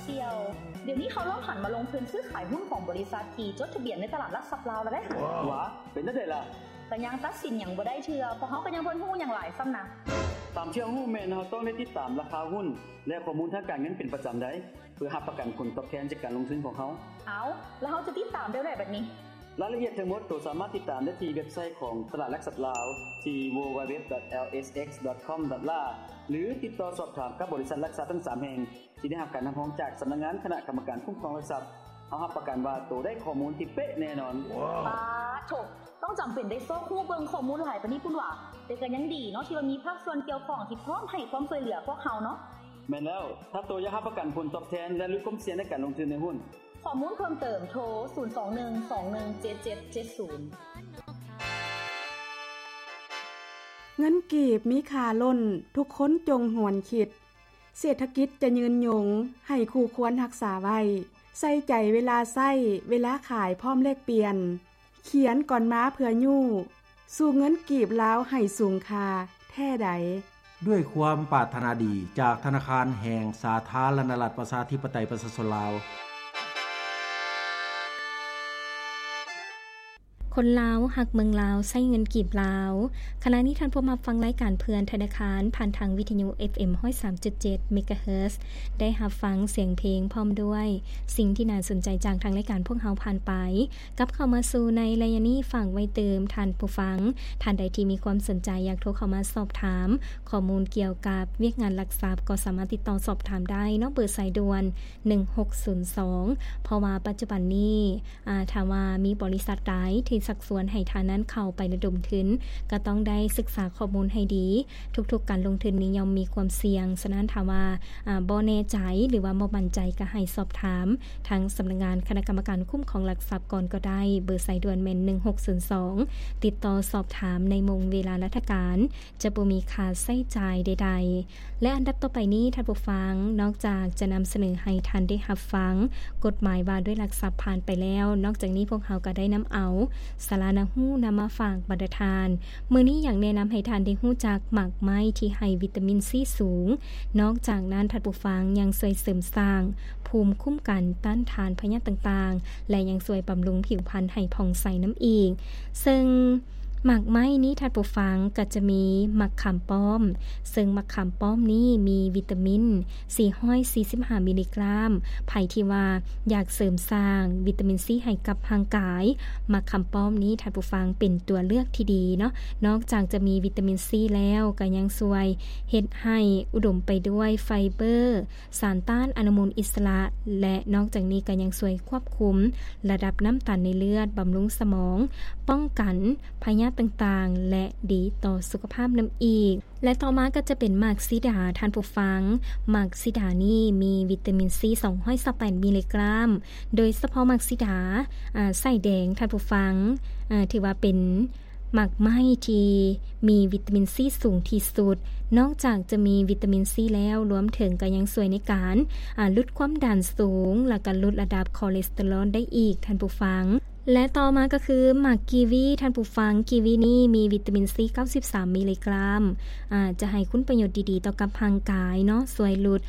ດຽວ ດຽວນີ້ເຂົາເລີ່ມຫັນມາລົງທຶນຊື້ຂາຍຫຸ້ນຂອງບໍລິສັດທີ່ຈົດທະບຽນໃນຕະຫຼາດຫຼັກຊັບລາວແລ້ວເດ້. ຫວາ ເປັນຈັ່ງໃດລະ? ກະຍັງຕັດສິນຫຍັງບໍ່ໄດ້ເທື່ອ ເພາະເຮົາກະຍັງບໍ່ຮູ້ຫຍັງຫຼາຍຊ້ຳນະ. ຕາມທີ່ເຮົາຮູ້ແມ່ນເຮົາຕ້ອງໄດ້ຕິດຕາມລາຄາຫຸ້ນ ແລະ ຂໍ້ມູນທາງການເງິນເປັນປະຈຳໄດ໋ ເພື່ອຮັບປະກັນຜົນຕອບແທນຈາກການລົງທຶນຂອງເຮົາ. ເອົາ ແລ້ວເຮົາຈະຕິດຕາມແນວໃດບັດນີ້? ລາຍລະອຽດທັງໝົດໂຕສາມາດຕິດຕາມໄດ້ທີ່ເວັບໄຊຂອງຕະຫຼາດຫຼັກຊັບລາວ ທີ່ www.lsx.com.la ຫຼື ຕິດຕໍ່ສອບຖາມກັບບໍລິສັດຫຼັກຊັບທັງສາມແຫ່ງ ທີ່ໄດ້ຮັບການຮັບຮອງຈາກສຳນັກງານຄະນະກຳມະການຄຸ້ມຄອງຫຼັກຊັບ. ເຮົາຮັບປະກັນວ່າໂຕໄດ້ຂໍ້ມູນທີ່ເປະແນ່ນອນ. ປາໂທ້ ຕ້ອງຈຳເປັນໄດ້ຊອກຮູ້ເບິ່ງຂໍ້ມູນຫຼາຍປານນີ້ພຸ້ນຫວາ? ແຕ່ກະຍັງດີເນາະ ທີ່ວ່າມີພາກສ່ວນກ່ຽວຂ້ອງທີ່ພ້ອມໃຫ້ຄວາມຊ່ວຍເຫຼືອພວກເຮົາເນາະ. ແມ່ນແລ້ວ ຖ້າໂຕຢາກຮັບປະກັນຜົນຕອບແທນ ແລະ ຫຼຸດຄວາມສ່ຽງໃນການລົງທຶນໃນຫຸ້ນ. ຂໍ້ມູນເພີ່ມເຕີມໂທ ສູນສອງໜຶ່ງສອງໜຶ່ງເຈັດເຈັດເຈັດສູນ. ເງິນກີບມີຄ່າລົ້ນ ທຸກຄົນຈົ່ງຫວນຄິດ. ເສດຖະກິດຈະຍືນຍົງ ໃຫ້ຄູ່ຄວນຮັກສາໄວ້. ໃສ່ໃຈເວລາໃຊ້ ເວລາຂາຍພ້ອມແລກປ່ຽນ. ຂຽນກ່ອນມາເພື່ອຍູ້ ສູ້ເງິນກີບລາວໃຫ້ສູງຄ່າແທ້ໃດ. ດ້ວຍຄວາມປາດຖະໜາດີຈາກທະນາຄານແຫ່ງສາທາລະນະລັດ ປະຊາທິປະໄຕ ປະຊາຊົນລາວ. ຄົນລາວຮັກເມືອງລາວ ໃຊ້ເງິນກີບລາວ. ຂະນະນີ້ທ່ານພວມຮັບຟັງລາຍການເພື່ອນທະນາຄານ ຜ່ານທາງວິທະຍຸ ເອັຟເອັມ ຮ້ອຍສາມຈຸດເຈັດ ເມກາເຮີດ ໄດ້ຮັບຟັງສຽງເພງພ້ອມດ້ວຍສິ່ງທີ່ໜ້າສົນໃຈຈາກທາງລາຍການພວກເຮົາຜ່ານໄປ. ກັບເຂົ້າມາສູ່ໃນໄລຍະນີ້ ຝາກໄວ້ຕື່ມທ່ານຜູ້ຟັງ ທ່ານໃດທີ່ມີຄວາມສົນໃຈຢາກໂທເຂົ້າມາສອບຖາມຂໍ້ມູນກ່ຽວກັບວຽກງານຫຼັກຊັບ ກໍສາມາດຕິດຕໍ່ສອບຖາມໄດ້ເນາະ ເບີສາຍດ່ວນ ໜຶ່ງຫົກສູນສອງ ເພາະວ່າປັດຈຸບັນນີ້ ອາ ຖ້າວ່າມີບໍລິສັດໃດທີ່ຊັກຊວນໃຫ້ທ່ານນັ້ນເຂົ້າໄປລະດົມທຶນ ກໍຕ້ອງໄດ້ສຶກສາຂໍ້ມູນໃຫ້ດີ. ທຸກໆການລົງທຶນນີ້ຍ່ອມມີຄວາມສ່ຽງ, ສະນັ້ນຖ້າວ່າ ອາ ບໍ່ແນ່ໃຈ ຫຼືວ່າບໍ່ໝັ້ນໃຈ ກໍໃຫ້ສອບຖາມທາງສຳນັກງານຄະນະກຳມະການຄຸ້ມຄອງຫຼັກຊັບກ່ອນກໍໄດ້. ເບີສາຍດ່ວນແມ່ນ ໜຶ່ງຫົກສູນສອງ ຕິດຕໍ່ສອບຖາມໃນໂມງເວລາລາຊະການ. ຈະບໍ່ມີຄ່າໃຊ້ຈ່າຍໃດໆ. ແລະ ອັນດັບຕໍ່ໄປນີ້ ທ່ານຜູ້ຟັງ ນອກຈາກຈະນຳສະເໜີໃຫ້ທ່ານໄດ້ຮັບຟັງກົດໝາຍວ່າດ້ວຍຫຼັກຊັບຜ່ານໄປແລ້ວ, ນອກຈາກນີ້ພວກເຮົາກໍໄດ້ນຳເອົາສາລະໜ້າຮູ້ນຳມາຝາກບັນດາທ່ານ. ມື້ນີ້ຢາກແນະນຳໃຫ້ທ່ານໄດ້ຮູ້ຈັກໝາກໄມ້ທີ່ໃຫ້ວິຕາມິນຊີສູງ. ນອກຈາກນັ້ນ ທ່ານຜູ້ຟັງຍັງຊ່ວຍເສີມສ້າງພູມຄຸ້ມກັນຕ້ານທານພະຍາດຕ່າງໆ ແລະ ຍັງຊ່ວຍບຳລຸງຜິວພັນໃຫ້ຜ່ອງໃສນຳອີກ. ເຊິ່ງ ໝາກໄມ້ນີ້ທ່ານຜູ້ຟັງ ກໍຈະມີໝາກຂາມປ້ອມ, ເຊິ່ງໝາກຂາມປ້ອມນີ້ມີວິຕາມິນສີ່ຮ້ອຍສີ່ສິບຫ້າມິລລີກຣາມ. ໃຜທີ່ວ່າຢາກເສີມສ້າງວິຕາມິນຊີໃຫ້ກັບຮ່າງກາຍ, ໝາກຂາມປ້ອມນີ້ທ່ານຜູ້ຟັງເປັນຕົວເລືອກທີ່ດີເນາະ. ນອກຈາກຈະມີວິຕາມິນຊີແລ້ວ ກໍຍັງຊ່ວຍເຮັດໃຫ້ອຸດົມໄປດ້ວຍໄຟເບີ, ສານຕ້ານອະນຸມູນອິດສະຫຼະ ແລະ ນອກຈາກນີ້ກໍຍັງຊ່ວຍຄວບຄຸມລະດັບນ້ຳຕານໃນເລືອດ, ບຳລຸງສະໝອງ, ປ້ອງກັນພະຍາດຕ່າງໆ ແລະ ດີຕໍ່ສຸຂະພາບນຳອີກ. ແລະ ຕໍ່ມາກໍຈະເປັນໝາກສີດາທ່ານຜູ້ຟັງ. ໝາກສີດານີ້ມີວິຕາມິນຊີສອງຮ້ອຍຊາວແປດມິລລີກຣາມ. ໂດຍສະເພາະໝາກສີດາ, ອາ, ສາຍແດງທ່ານຜູ້ຟັງ, ອາ, ຖືວ່າເປັນ ໝາກໄມ້ທີ່ມີວິຕາມິນຊີສູງທີ່ສຸດ. ນອກຈາກຈະມີວິຕາມິນຊີແລ້ວ, ລວມເຖິງກໍຍັງຊ່ວຍໃນການ, ອາ, ຫຼຸດຄວາມດັນສູງ ແລ້ວກໍຫຼຸດລະດັບຄໍເລສເຕີຣອນໄດ້ອີກ, ທ່ານຜູ້ຟັງ. ແລະ ຕໍ່ມາກໍຄືໝາກກີວີ, ທ່ານຜູ້ຟັງ. ກີວີນີ້ມີວິຕາມິນຊີເກົ້າສິບສາມມິລລີກຣາມ, ອາ, ຈະໃຫ້ຄຸນປະໂຫຍດດີໆຕໍ່ກັບຮ່າງກາຍເນາະ, ຊ່ວຍຫຼຸດ